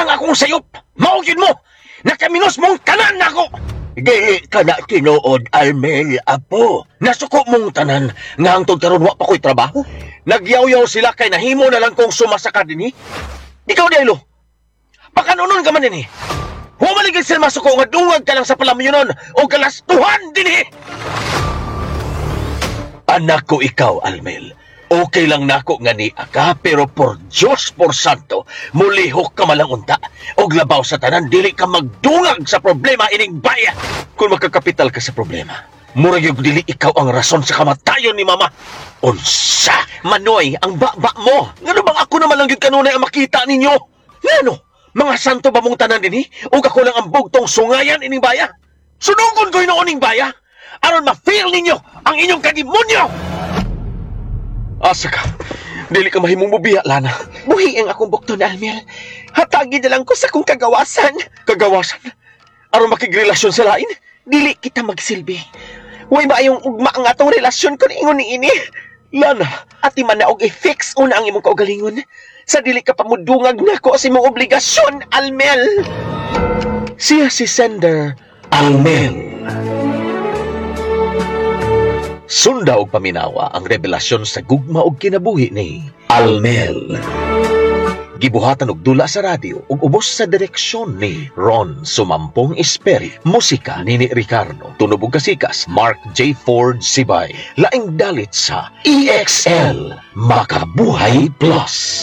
lang akong sayop. Mao gyud mo. Nakaminos mong tanan nako. Dili ka na tinuod, Almel, apo. Nasuko mong tanan nga hangtod karon wa pa ko'y trabaho. Nagyaw-yaw sila kay nahimo na lang kong sumasaka dinhi. Ikaw, Delo. Pakanunon ka man dinhi. Humaligid sila masuko nga dungag ka lang sa palamyonon o kalastuhan dinhi. Anak ko ikaw, Almel. Okay lang nako nga ni ka, pero por Diyos, por Santo, mulihok ka malang unta. Og labaw sa tanan, dili ka magdungag sa problema ining baya. Kung makakapital ka sa problema, murag yung dili ikaw ang rason sa kamatayon ni Mama. Unsa? Manoy, ang baba mo. Ngano bang ako naman lang yun kanunay ang makita ninyo? Ngano? Mga santo ba mong tanan dinhi? O ako lang ang bugtong sungayan ining baya? Sunugon ko noon ning baya? Aron ma-feel ninyo ang inyong kadimonyo! Asa ka? Dili ka mahimong mubiya, Lana. Buhi ang akong bukton, Almel. Hatagi na lang ko sa akong kagawasan. Kagawasan? Aron makigrelasyon sa lain? Dili kita magsilbi. Way maayong ugma ang atong relasyon kung ingon ni ini. Lana, Ati man na og i-fix una ang imong kaugalingon. Sa dili ka pamudungag nako sa imong obligasyon, Almel. Siya si sender Almel. Sunda og paminawa ang revelasyon sa gugma og kinabuhi ni Almel. Gibuhatan og dula sa radyo ug ubos sa direksyon ni Ron Sumampong Esperi. Musika Nini Ricardo, tunob ug kasikas Mark J. Ford Sibay. Laing dalit sa EXL Makabuhay Plus.